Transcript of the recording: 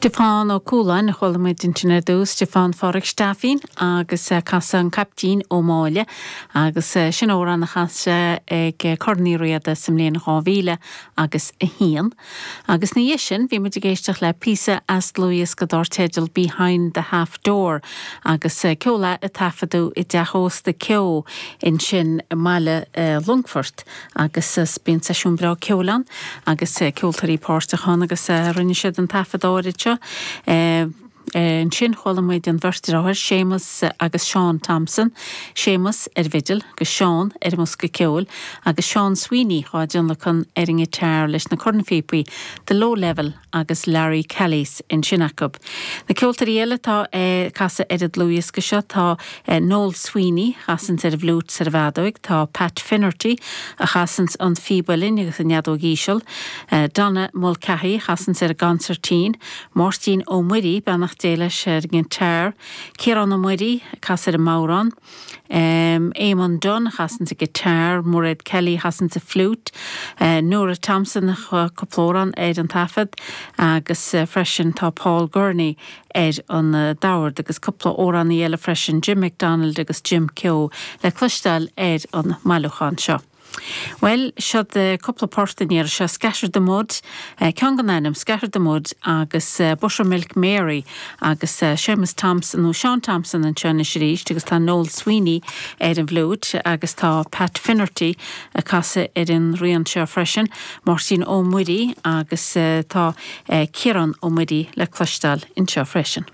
Stiofán Ó Cualáin a chuala muid ansin ar dtús, Stiofán Phádraig Steifín agus casadh An Caiptín Ó Máille agus sin amhrán a chas sé ag Corn Uí Riada sa mbliain 2000 agus 1. Agus ina dhiaidh sin bhí muid ag éisteacht le píosa as dlúthdhiosca dár teideal Behind the Half Door agus ceol é a taifeadadh i dteach ósta Keogh ansin i mbaile Longfoirt. Agus bíonn seisiún breá ceoil ann agus ceoltóirí páirteach ann agus rinne siad an taifead áirid seo. Ansin chuala muid an bheirt deartháir, Séamus agus Seán Thompson, Séamus ar an bhfidil agus Seán ar an mbosca ceoil agus Seán Sweeney dhá dtionlacan ar an ngiotár leis na cornphíopaí, The Low Level agus Larry Kelly's ansin acu. Na ceoltóirí eile atá ag casadh ar an dlúthdhiosca seo tá Noel Sweeney a chasanns ar an bhfliúit 's ar an bhfeadóig, tá Pat Finnerty a chasanns an phíb uilleann agus an fheadóg íseal, Donna Mulcahy a chasanns ar an gconsairtín, Máirtín Ó Muirí, beannacht Dé leis, ar an ngiotár, Ciarán Ó Muirí ag casadh ar an mbodhrán. Éamonn Dunne a chasanns an guitar, Mairéad Kelly a chasanns an fliúit, Nora Thompson a cúpla amhrán ar an taifead agus freisin tá Paul Gurney ar an dord agus cúpla amhránaí eile freisin, Jim McDonald agus Jim Keogh le cloisteáil ar an mbailiúchán seo. Bhuel, siod cúpla port an iarraidh seo, Scatter the Mud, ceann den ainm, Scatter the Mud agus Buttermilk Mary agus Séamus Thompson, nó Seán Thompson anseo anois arís agus tá Noel Sweeney ar an bhfliúit agus tá Pat Finnerty ag casadh ar an rian seo freisin, Máirtín Ó Muirí agus tá Ciarán Ó Muirí le cloisteáil anseo freisin.